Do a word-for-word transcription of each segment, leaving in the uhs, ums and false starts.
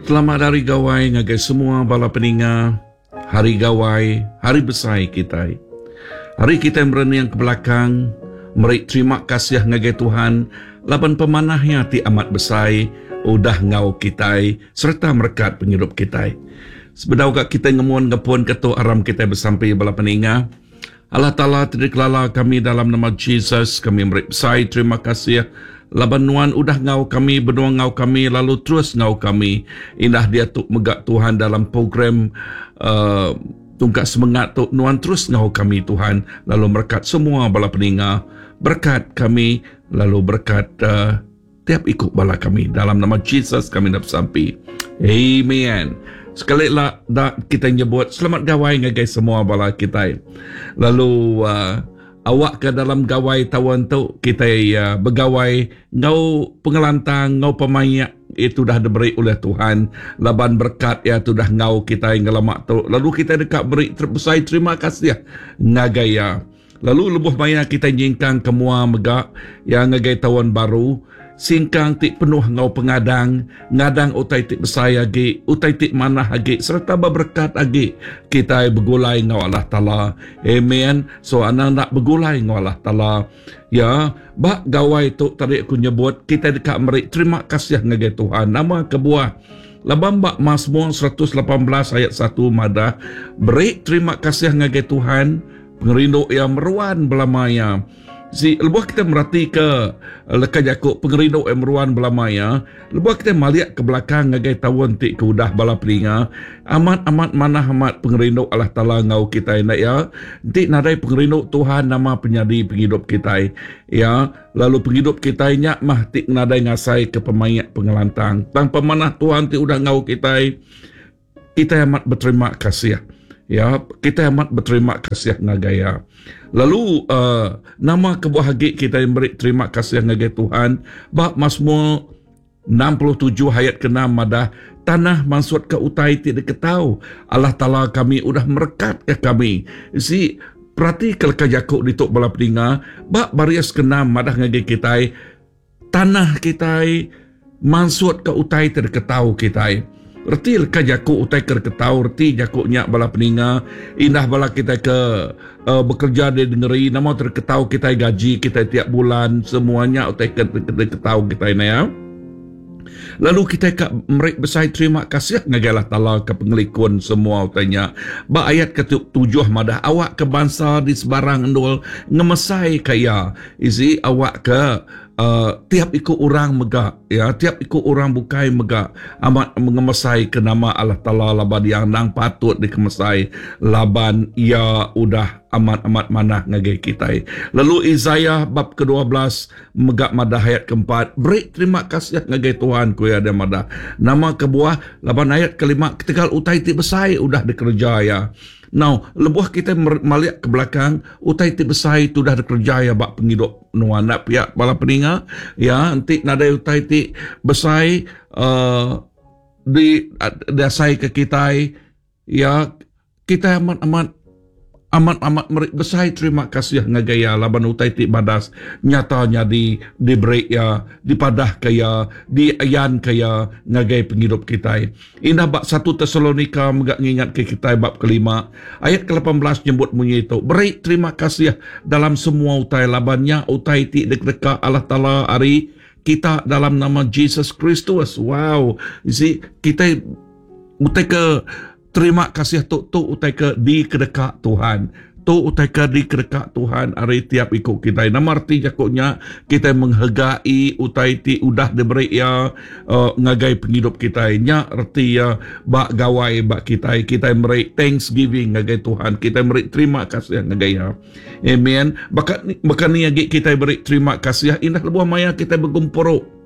Selamat Hari Gawai ngagai semua bala peninga. Hari Gawai, hari besai kitai. Hari kitai merening ke belakang, meri terima kasih ngagai Tuhan laban pemanah iya ti amat besai udah enggau kitai sereta merekat pengidup kitai. Sebedau ga kitai ngemun ngepun ke tu aram kitai besampi bala peninga. Allah Taala ti dikelala kami dalam nama Jesus, kami meri besai terima kasih laban nuan udah ngau kami, benung ngau kami, lalu terus ngau kami. Indah diatu mega Tuhan dalam program uh, tungkat semengat tu nuan terus ngau kami Tuhan, lalu merekat semua bala peninga, berkat kami, lalu berkat uh, tiap ikut bala kami. Dalam nama Jesus kami nak besampi. Amen. Sekali lah dah kita nyebut selamat gawai ngagai semua bala kita. Lalu uh, awak ke dalam gawai tahun tu kita uh, begawai ngau pengelantang ngau pemayak itu dah diberi oleh Tuhan, laban berkat ya tu dah ngau kita ngelamak tu, lalu kita dekat beri terbesai terima kasih ngagai ya. Lalu lebuh maya kita nyingkang ke mua mega yang ngagai tahun baru, singkang ti penuh ngau pengadang, ngadang utai ti besai agi, utai ti manah agi serta berberkat agi kita begulai ngau Allah Taala. Amen. So anang nak begulai ngau Allah Taala. Ya, bak gawai tu tadi aku nyebut kita dekat meri terima kasih ngagai Tuhan. Nama kebuah laban bak Mazmur seratus lapan belas ayat satu madah beri terima kasih ngagai Tuhan, pengerindu yang meruan belamaya. Si lebuh kita merati ke leka jaku pengerindu yang meruan belamaya, lebuh kita maliak ke belakang ngagai tahun ti ke udah bala peninga, amat-amat manah amat pengerindu Allah Taala ngau kita nak ya. Ti nadai pengerindu Tuhan nama penyadi penghidup kita ya, lalu penghidup kita nya mah ti nadai ngasai ke pemayak pengelantang. Tang pemanah Tuhan ti udah ngau kita, kita amat berterima kasih. Ya, kita amat berterima kasih ngagai ya. Lalu uh, nama kebuah agi kita beri terima kasih ngagai Tuhan, bak Mazmur enam puluh tujuh ayat keenam madah tanah maksud ke utai ti diketau Allah Taala kami udah merekat ke kami. Si perhati ke leka jaku dituk bala peninga, bak baris keenam madah ngagai kita tanah kita maksud ke utai ti diketau kita. Reti leka jaku utai ke ketau, reti jaku nyak bala peninga, indah bala kita ke uh, bekerja di negeri, nama terketau kita gaji kita tiap bulan, semuanya utai ke ketau kita ini ya. Lalu kita ke merik besai terima kasih ngagai Allah Taala ke pengelikun semua utainya. Ba ayat ketujuh madah awak ke bangsa di sebarang endul ngemesai kaya. Isi awak ke Uh, tiap ikut orang mega ya, tiap ikut orang bukai mega amat mengemesai ke nama Allah Taala laban yang nang patut dikemesai laban ia udah amat-amat manah ngagai kita. Lalu Isaiah bab kedua belas mega madah ayat keempat, beri terima kasih ngagai Tuhan ku ya dia madah. Nama kebuah laban ayat kelima ketegal utai ti besai udah dikerja ya. Now, lebuh kita maliak ke belakang, utai ti besai tu dah dikerja ya bak penghidup nuan nak pihak bala peninga ya, nanti nadai utai ti besai uh, di dasai ke kita ya, kita amat-amat amat-amat meri besai terima kasih ngagai ya laban utai ti badas nyata nyadi diberi ya, dipadah ke ya, diayan ke ya ngagai penghidup kita. Indah bab satu Tesalonika megak ngingat ke kita bab kelima ayat ke lapan belas nyebut munyi itu, beri terima kasih dalam semua utai labannya utai ti deka Allah Taala ari kita dalam nama Jesus Kristus. Wow, you see kita utai ke terima kasih tu tu utai ke di kedeka Tuhan. Tu utai ke di kedeka Tuhan ari tiap ikut kita. Nama arti jakuknya kita menghargai utai ti udah diberi ya uh, ngagai penghidup kita. Nya arti ya bak gawai bak kita. Kita meri thanksgiving ngagai Tuhan. Kita meri terima kasih ngagai ya. Amen. Bakat bakat ni agi kita beri terima kasih indah lebuh maya kita bergumpuru.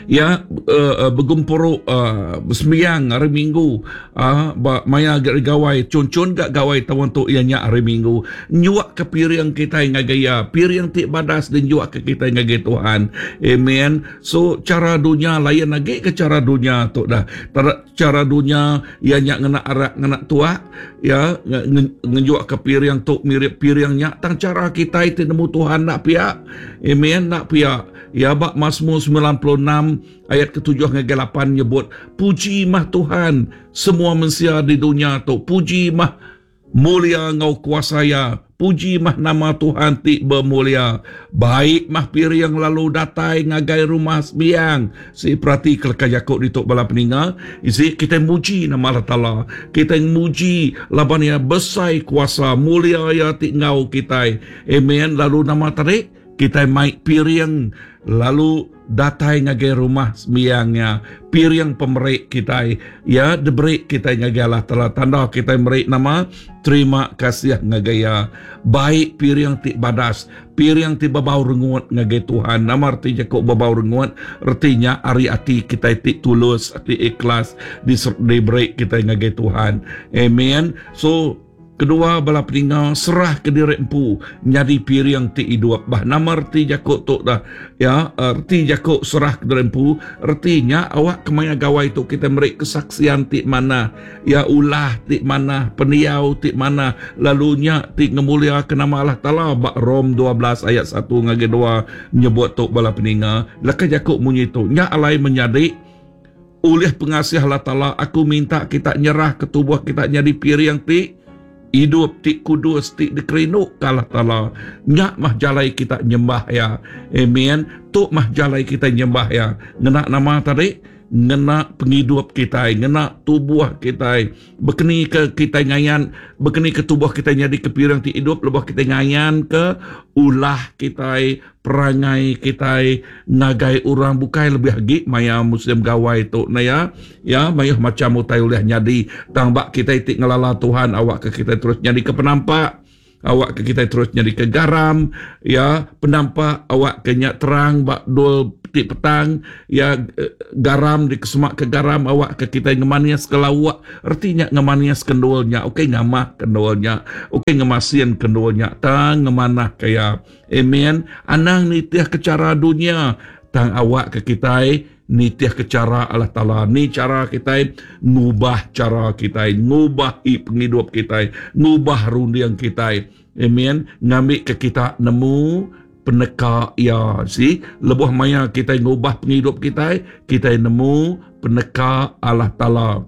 Ya, uh, bergumpuru uh, bersembiang hari Minggu, uh, maya gak gawai, cun-cun gak gawai tahun tu ianya hari Minggu. Nyuak ke piring kita ngagai ya, piring ti badas dan nyuak ke kita ngagai Tuhan. Amen. So cara dunia lain lagi ke cara dunia tu dah. Cara dunia ianya ngena arak ngena tuak, ya, ngejuak ke piring tu mirip piringnya. Tang cara kita itu nemu Tuhan nak pihak. Amen, nak pihak. Ya, bak Mazmur sembilan puluh enam lapan ayat ketujuh ngagai lapan nyebut puji mah Tuhan semua mensia di dunia tu, puji mah mulia ngau kuasa ya, puji mah nama Tuhan ti bermulia. Baik mah piring lalu datai ngagai rumah sembiang. Si perhati keleka Jakub dituk bala peninga, isi kita muji nama Allah Taala. Kita muji laban ya besai kuasa mulia ya ti ngau kita. Amen. Lalu nama tadi kita mai piring lalu datai ngagai rumah sembiangnya, piring pemerik kita ya diberi kita ngagai Allah Taala, tanda kita meri nama terima kasih ngagai ya. Baik piring ti badas, piring ti bebau rengut ngagai Tuhan. Nama arti Jakub bebau rengut? Artinya ari ati kita ti tulus, ati ikhlas diberi kita ngagai Tuhan. Amen. So kedua bala peninga serah ke diri empu nyadi piring ti hidup. Bah nama erti Jakub tu dah ya, erti Jakub serah ke diri empu ertinya awak kemaya gawai tu kita meri kesaksian ti mana ya, ulah ti mana, pendiau ti mana, lalunya ti ngemulia ke nama Allah Taala. Bak Rom dua belas ayat satu ngagai dua nyebut tu bala peninga. Leka Jakub munyi tu nya alai menyadi oleh pengasih Allah Taala aku minta kita nyerah ke tubuh kita nyadi piring ti hidup ti kudus ti dikerinduk ke Allah Taala. Nyak mah jalai kita nyembah ya. Amen. Tu mah jalai kita nyembah ya. Ngena nama tadi, ngena penghidup kita, ngena tubuh kita. Bekeni ke kita ngayan, bekeni ke tubuh kita jadi ke piring ti hidup, lebih kita ngayan ke ulah kita, perangai kita ngagai orang bukai lebih lagi maya musim gawai tu na ya. Ya mayuh macam utai ulih nyadi tang bak kita ti ngelala Tuhan awak ke kita terus nyadi ke penampak, awak ke kita terus nyadi ke garam ya, penampak awak ke nyak terang bak dul ti petang ya, garam di kesemak ke garam awak ke kita ngemanias ke lawak, artinya ngemanias kendulnya, okey ngamah kendulnya, okey ngemasin kendulnya tang ngemanah kaya. Amen. Anang nitih ke cara dunia tang awak ke kita nitih ke cara Allah Taala. Ni cara kita ngubah cara kita, ngubah i penghidup kita, ngubah rundiang kita. Amen. Ngambil ke kita nemu peneka ya. Si lebuh maya kita ngubah penghidup kita, kita nemu peneka Allah Taala.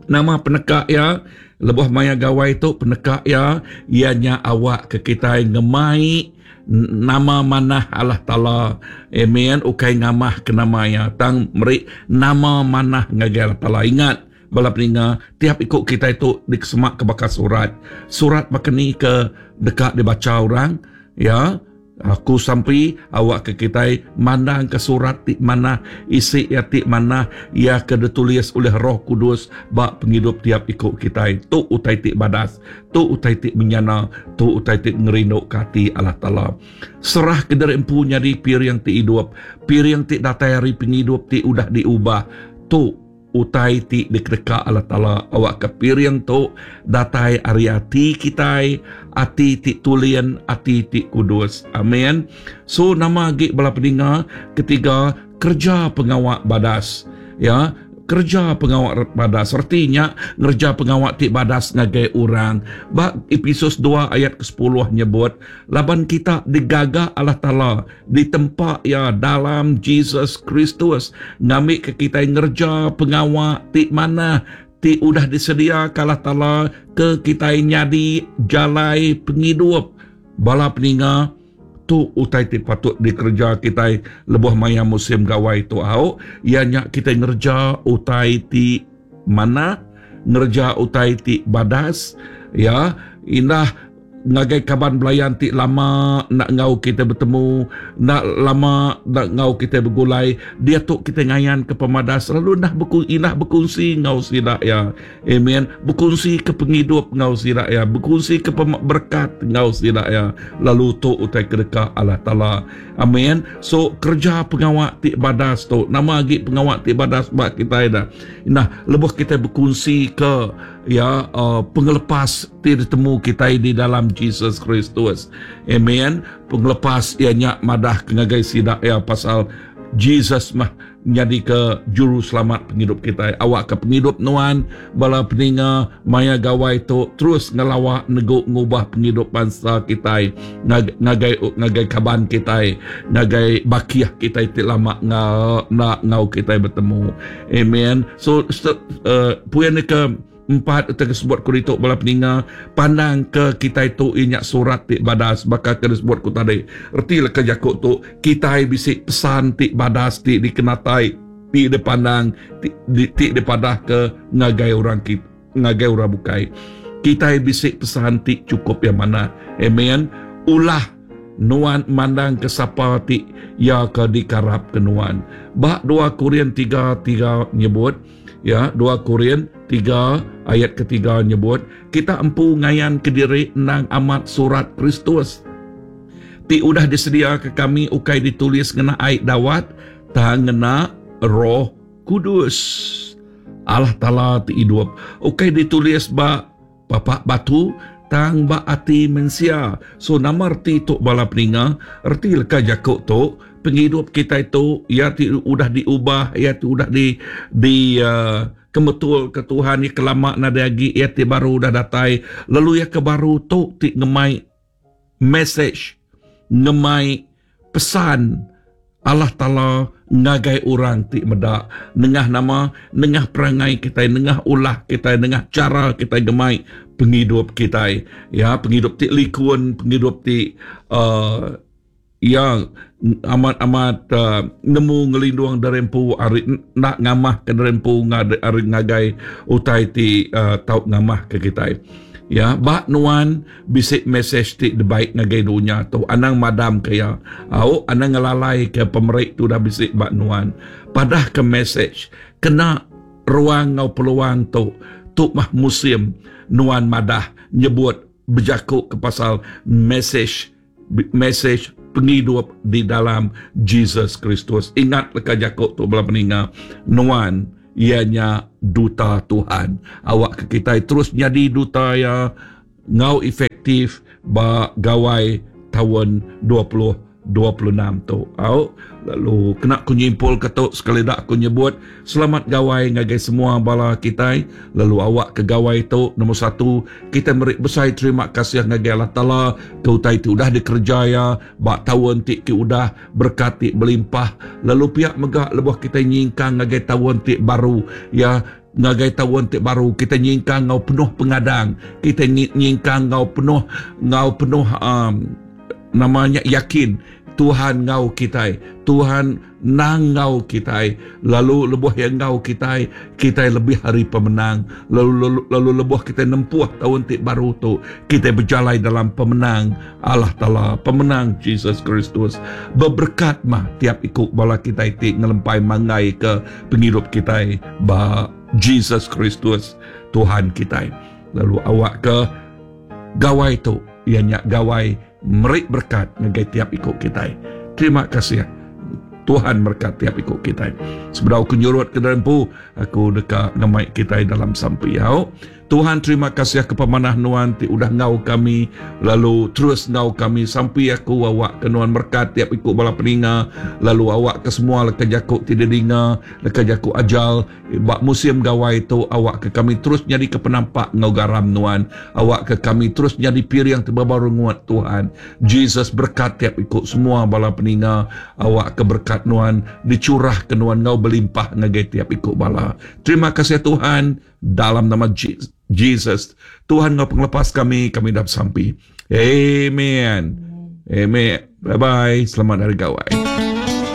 Nama peneka ya, lebuh maya gawai tu peneka ya, ianya awak ke kita ngemai nama manah Allah Taala. Amen. Ukai ngamah ke nama ya, tang meri nama manah ngagai Allah Taala. Ingat bala peninga, tiap ikut kita itu dikesemak ke bakal surat. Surat bakani ke dekat dibaca orang ya. Aku sampai awak ke kita mandang ke surat ti mana, isi ya ti mana, ia ke ditulis oleh Roh Kudus bak penghidup tiap ikut kita. Tu utai ti badas, tu utai ti menyana, tu utai ti ngerinduk ke hati Allah Taala. Serah ke diri empu nyadi piring ti hidup, piring ti datai hari penghidup ti udah diubah. Tu utai ti dikedeka Allah Taala. Awak ke piring tu datai ari ati kita, ati ti tulian, ati ti kudus. Amin. So nama agi bala peninga ketiga, kerja pengawak badas. Ya, kerja pengawak badas artinya ngerja pengawak ti badas ngagai orang. Bak Efesus dua ayat ke sepuluh nyebut laban kita digaga Allah Taala ditempa ya dalam Jesus Kristus ngambil ke kita ngerja pengawak ti mana ti udah disedia ke Allah Taala ke kita nyadi jalai penghidup. Bala peninga, tu utai ti patut dikerja kita lebuh maya musim gawai tu au, ianya kita ngerja utai ti mana, ngerja utai ti badas ya. Indah ngagai kaban belayan ti lama nak ngau kita bertemu, nak lama nak ngau kita bergulai, dia tu kita ngayan ke pemadas lalu nah berku, inah berkongsi ngau sida ya. Amen. Berkongsi ke penghidup ngau sida ya, berkongsi ke berkat ngau sida ya, lalu tu utai kedeka Allah Taala. Amen. So kerja pengawak ti badas tu, nama agi pengawak ti badas bak kita dah. Nah lebuh kita berkongsi ke ya uh, pengelepas ti ditemu kita di dalam Jesus Kristus. Amen. Pengelepas ianya madah ke ngagai sida ya pasal Jesus mah jadi ke juru selamat penghidup kita. Awak ke penghidup nuan bala peninga maya gawai tu terus ngelawak neguk ngubah penghidup bangsa kita, ngagai ngagai kaban kita, ngagai bakiah kita ti lama ngau nak ngau kita bertemu. Amen. So uh, puyan ke empat tersebut ku ditu bala peninga, pandang ke kita itu inyak surat ti badas bakal ke disebut ku tadi. Erti leka jakuk tu kita bisi pesan ti badas ti dikenatai ti dipandang ti, di, ti dipadah ke ngagai orang kita, ngagai orang bukai. Kita bisi pesan ti cukup yang mana. Amen. Ulah nuan mandang ke sapa ti ya ke dikarap ke nuan. Bak dua Korin tiga tiga nyebut ya, dua Korin tiga ayat ketiga nyebut kita empu ngayan kediri nang amat surat Kristus ti udah disedia ke kami ukai ditulis ngena ai dawat tang ngena Roh Kudus Allah Taala ti hidup, ukai ditulis ba papak batu tang ba ati mensia. So nama erti tu bala peninga, erti leka jakuk tu penghidup kita itu ya ti udah diubah, ya ti udah di di uh, kemetul ke Tuhan, ya kelama nada lagi, ya ti baru dah datai. Lalu ya ke baru tu ti ngemai message, ngemai pesan Allah Taala ngagai orang ti medak nengah nama, nengah perangai kita, nengah ulah kita, nengah cara kita gemai penghidup kita, ya penghidup ti likun, penghidup ti uh, yang amat-amat uh, nemu ngelindung derempu ari nak ngamah ke derempu ngade ari ngagai utai ti uh, tau ngamah ke kita. Ya, bak nuan bisik message ti debaik ngagai dunia tu anang madam ke ya. Au anang ngelalai ke pemerik tu dah bisik bak nuan. Padah ke message kena ruang ngau peluang tu tu mah musim nuan madah nyebut berjakuk ke pasal message message penghidup di dalam Jesus Kristus. Ingat leka jakuk tu bala peninga, nuan ianya duta Tuhan. Awak ke kita terus jadi duta ya ngau efektif ba gawai tahun dua puluh dua puluh enam tu. Au lalu kena ku nyimpul ke tu sekali dak aku nyebut selamat gawai ngagai semua bala kita. Lalu awak ke gawai tu nombor satu kita meri besai terima kasih ngagai Allah Taala ke utai ti udah dikerja ya ba taun ti ke udah berkat ti berlimpah. Lalu pihak megak lebuh kita nyingkang ngagai taun ti baru ya, ngagai taun ti baru kita nyingkang ngau penuh pengadang, kita nyingkang ngau penuh ngau penuh um, namanya yakin Tuhan ngau kita, Tuhan nang ngau kita. Lalu lebuh yang ngau kita, kita lebih hari pemenang. Lalu, lalu, lalu lebuh kita nempuh tahun ti baru tu, kita berjalai dalam pemenang Allah Taala, pemenang Jesus Kristus. Berberkat mah tiap ikut bala kita ti ngelempai mangai ke penghidup kita ba Jesus Kristus Tuhan kita. Lalu awak ke gawai tu ianya gawai merik berkat ngagai tiap ikut kita. Terima kasih Tuhan berkat tiap ikut kita. Sebelum aku nyurut ke dalam pu, aku dekat ngemai kita dalam sampiau. Tuhan terima kasih ke pemanah nuan ti udah ngau kami, lalu terus ngau kami sampai aku awak ke nuan berkat tiap ikut bala peninga, lalu awak ke semua leka jakuk ti didinga, leka jakuk ajal bak musim gawai tu awak ke kami terus jadi ke penampak ngau garam nuan, awak ke kami terus jadi piring terbaru nguat Tuhan. Jesus berkat tiap ikut semua bala peninga, awak ke berkat nuan dicurah ke nuan ngau berlimpah ngagai tiap ikut bala. Terima kasih Tuhan dalam nama Jesus. Jesus, Tuhan ngau penglepas kami, kami dah sampai. Amen. Amen. Bye-bye. Selamat hari gawai.